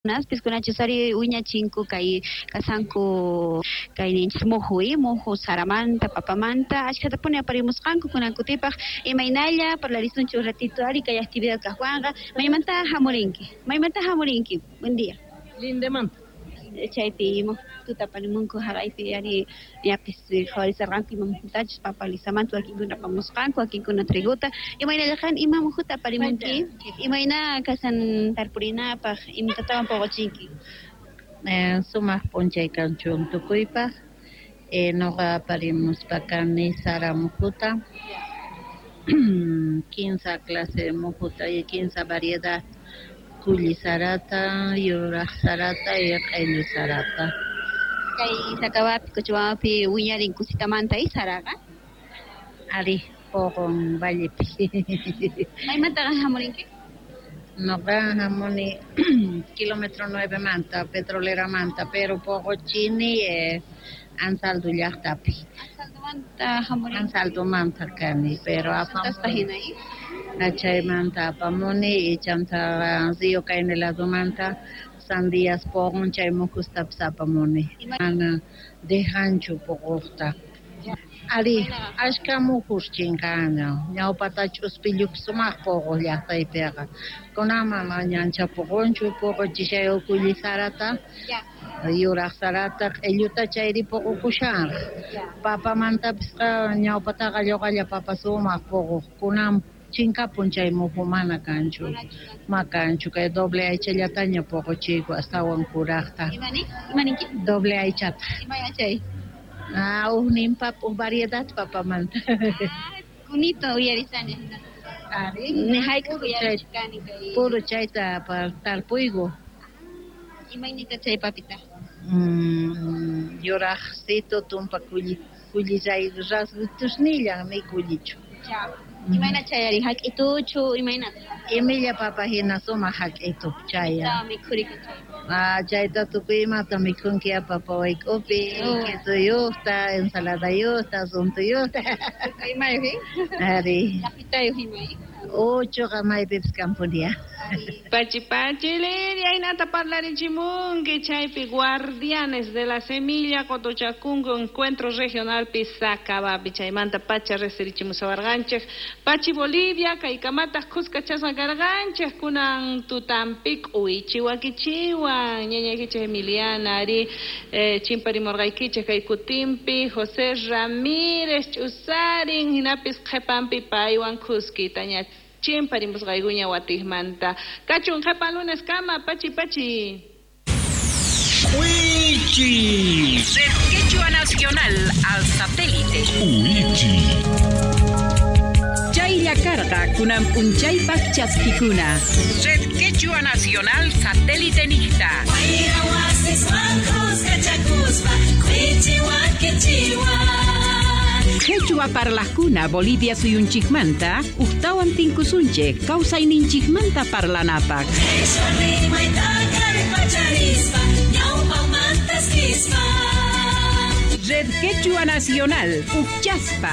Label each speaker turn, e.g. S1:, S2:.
S1: Naspis kunachus ari wiñachinku kay kasanku kay ninchis muhu muhu saramanta papamanta ashkhatapuni aparimusqanku kunan kutipaq imaynalla parlarisunchik un ratito ari kay actividad kaqwanqa maymanta hamurinki maymanta hamurinki. Buen día.
S2: Lindemanta.
S1: Chaypi muhuta aparimunku haqaypi ari ñapis qhawarisarqanku ima muhutachus papa lisamanta wakinkuna apamusqanku wakinkuna triguta imaynalla qan ima muhuta aparimunki imayna kasan tarpurinapaq imatatawan puquchinki.
S2: Sumaq p'unchay kanchun tukuypaq. Noqa aparimuspa kani sara mujuta, kinsa clase mujuta y kinsa variedad kulli sarata, yuraq sarata y q'ellu sarata.
S1: Kay Sacabápi, Cochabambapi wiñarin kusitamanta y saraqa.
S2: Ari, puqun vallepi.
S1: Maymantaqa hamurinki?
S2: Noqa hamuni kilómetro 9 manta, petroleramanta, pero puquchini Anzaldo llaqtapi.
S1: Anzaldomanta hamurinki.
S2: Anzaldomanta kani, pero
S1: Apamusqa hina.
S2: Chaymanta apamuni y chanta Río Caine ladomanta sandías puqun chay mujustapis apamuni. Mana dejanchu puquqta. Ari, ashka mujus chinqana. Ñawpata ch'uspillupi sumaq puquq llaqtaypiqa. Kunan mana ñancha puqunchu, puquchishay kulli sarata, yuraq sarata, q'illuta chayri puqukushanraq. Papamantapisqa ñawpataqa lluqalla papa sumaq puquq. Kunan chinkapun chay muju mana kanchu. Ma kanchu kay doble aychallataña puquchiyku astawan kuraqta.
S1: Imaninki?
S2: Doble aychata.
S1: Imay chay?
S2: Ah, ujnin papa, uj variedad papamanta.
S1: Kunito uyarisani.
S2: Ari,
S1: Ni hayk'aq uyarichkani kay.
S2: Puro chayta tarpuyku.
S1: Imaynita chay papita?
S2: Yuraqsito tumpa kulli kullillay rasgutusnillan ni kullichu.
S1: Imayna chayari hak'ituchu imaynata?
S2: Imilla papa hina sumaq hak'itu chaya.
S1: Mikhuriki chay.
S2: Ah, chayta tukuy imata mikhunki papa wayk'upi, quesoyuqta, ensaladayuqta, suntuyuqta.
S1: Imayuq,
S2: Ari.
S1: Llaqtayuq imay.
S2: Uchuqa maypipis kanpunia.
S3: Pachi pachi Lidia, hinata parlarichimunki chaypi guardianes de la semilla Cotochacungo encuentro regional pi Sacabápi chaymanta pacha resirichimusawarqanchik Pachi Bolivia kaykamataq kuskachasqa karqanchik kunan tutampi k'uychi wakichiwan ñañaykichik Emiliana ari chimparimurqaykichik kay kutinpi José Ramírez ch'usarin hinapis qhipanpi paywan kuskitaña chimparimusqaykuña watiqmanta kachun qhipan lunes kama pachi pachi.
S4: Wichi.
S5: Red Quechua Nacional al satélite.
S4: Wichi.
S5: Chaylla karqa kunan p'unchaypaq chaskikuna. Red Quechua Nacional satélite niqta.
S6: Wayra wasiswan kuskachakuspa k'uychi wakichiwan.
S5: Quechua parlaqkuna Bolivia suyunchikmanta uqtawan tinkusunchik kawsayninchikmanta parlanapaq.
S6: Quechua rimayta kallpacharispa ñawpaqmantas kispa.
S5: Red Quechua Nacional, Uchaspa.